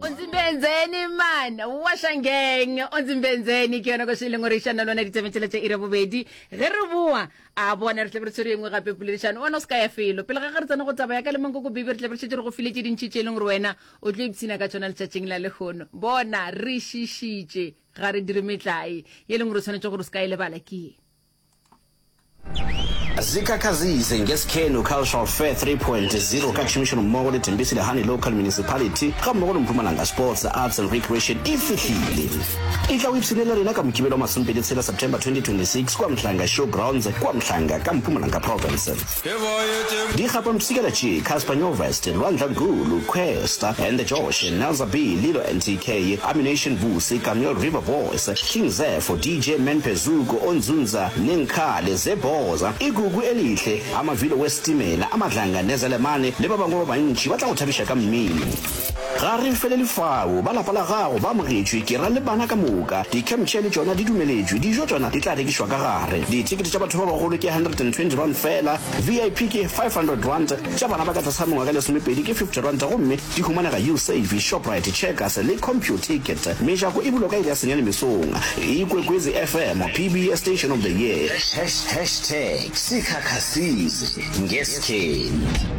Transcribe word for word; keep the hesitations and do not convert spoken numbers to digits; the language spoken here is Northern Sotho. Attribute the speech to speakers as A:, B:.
A: Onzimbenzeni man wa Shangeng Onzimbenzeni ke yona koše e leng gore išana lona ditabeng tšela tša iri ya bobedi ge re boa a bona re tlabe re tshwere engwe gape poledišano wena o se ka ya felo pele ga ge re tsena go taba ya ka le mankoko baby re tlabe re šetše re go file tše dintši tše e leng gore wena o tlo ipshina ka tšona letšatšing la lehono bona re šišitše ga re dire metlae ye e leng gore o tshwanetše gore o se ka e lebala ke ye.
B: Zikhakhazise ngeSikhenu Cultural Fair three point zero ka tšhomišanommogo le Thembisile Hani Local Municipality gammogo le Mpumalanga Sports, Arts and Recreation e fihlile. Etla o ipshine le rena ka Mokibelo wa masomepedi tshela September twenty twenty six kua Mhlanga Show Grounds kua Mhlanga ka Mpumalanga Province. Dikgapampshikela tše, Cassper Nyovest, Lwandla Nkulu, Kwesta and the Josh, Nelza B, Lilo N T K, Ammunition Vusi, Kameel River Boys, King Zefo, D J Man Phezuko, Onzunza, Nenkhale, Zebhoza, Igugu Elihle, Amavilo Wesitimela, Amadlanga Nezelemane le ba bangwe ba bantši ba tla go thabiša ka mmino. Ga re felele fao, ba lapa la gago ba amogetšwe, ke ra le bana ka moka. Di-camp chair le tšona di dumeletšwe, dijo tšona di tla rekišwa ka gare. Dithekete tša batho ba bagolo ke hundred and twenty rand feela, V I P ke five hundred rand, tša bana ba ka tlase ga mengwaga e lesomepedi ke fifty rand gomme di humanega Usave, Shoprite, Checkers le Computicket. Mejako e bulwa ka iri ya senyane mesong. Ikwekwezi F M, P B S Station of the Year.
C: Hashtag Sikhakhasize ngeSkheni.